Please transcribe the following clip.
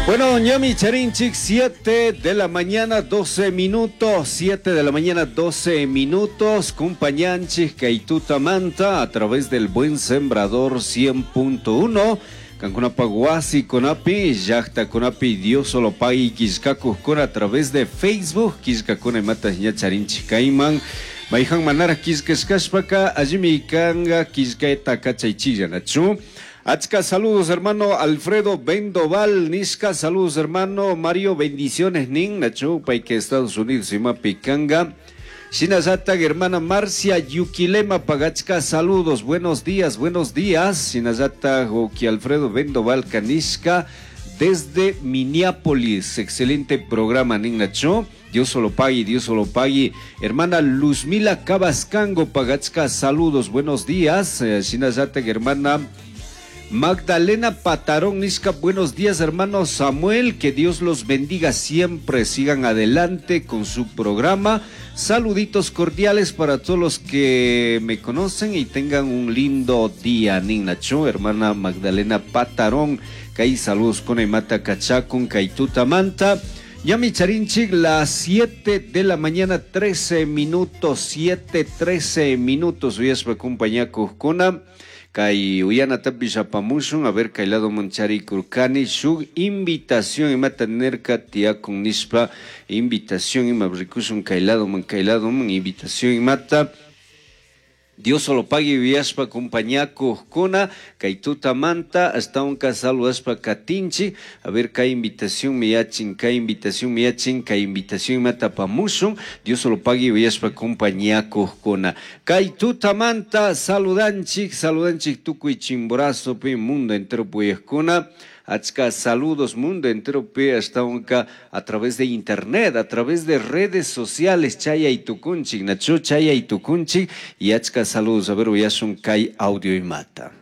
Bueno, ñami charinchik, 7 de la mañana, 12 minutos, 7 de la mañana, 12 minutos, compañanchik kay tutamanta a través del Buen Sembrador 100.1, Kankunapaj wasikunapi, llajtakunapi, Dios solo pagui killkakujkuna a través de Facebook, killkakuna imata ña charinchik kayman, mayjan manaraj killkashkashpaka allimi kanga killkayta kachaychilla, nachu? Achka saludos hermano Alfredo Bendoval, Nishka, saludos hermano Mario, bendiciones nin, nachu, payka Estados Unidos imapi kanga. Shinallatak hermana Marcia Yuquilema pagachka, saludos, buenos días, buenos días. Shinallatak Oki Alfredo Bendoval Kanishka desde Minneapolis, excelente programa nin, nachu. Dios solo pague, Dios solo pague. Hermana Luzmila Cabascango pagachka, saludos, buenos días. Shinallatak hermana Magdalena Patarón Nishka, buenos días hermano Samuel, que Dios los bendiga siempre, sigan adelante con su programa. Saluditos cordiales para todos los que me conocen y tengan un lindo día. Ninacho, hermana Magdalena Patarón, kay saludos con Emata Kachakun, Kaituta Manta. Ñami charinchik, las 7 de la mañana, 13 minutos, 7, 13 minutos, uyashpa compañakujkuna. Kay uyanatapish apamushun, a ver, kay ladoman charikurkani, shuk invitación imata nerka tiyakun nishpa, invitación ima rikushun kay ladoman, kay ladoman, invitación imata. Dios solo pague uyashpa compañakujkuna, kay tutamanta, hasta unka saludashpa katinchi, a ver, kay invitación miyachin, kay invitación miyachin, kay invitación imata apamushun, Dios solo pague uyashpa compañakujkuna. Kay tutamanta saludanchik, saludanchik tukuy Chimborazopi, mundo entero puyajkuna. Achka saludos mundo entero pe hasta unka a través de internet, a través de redes sociales, chaya y tukunchik, nacho chaya y tukunchik, y achka saludos, a ver, uyashun kay audio imata.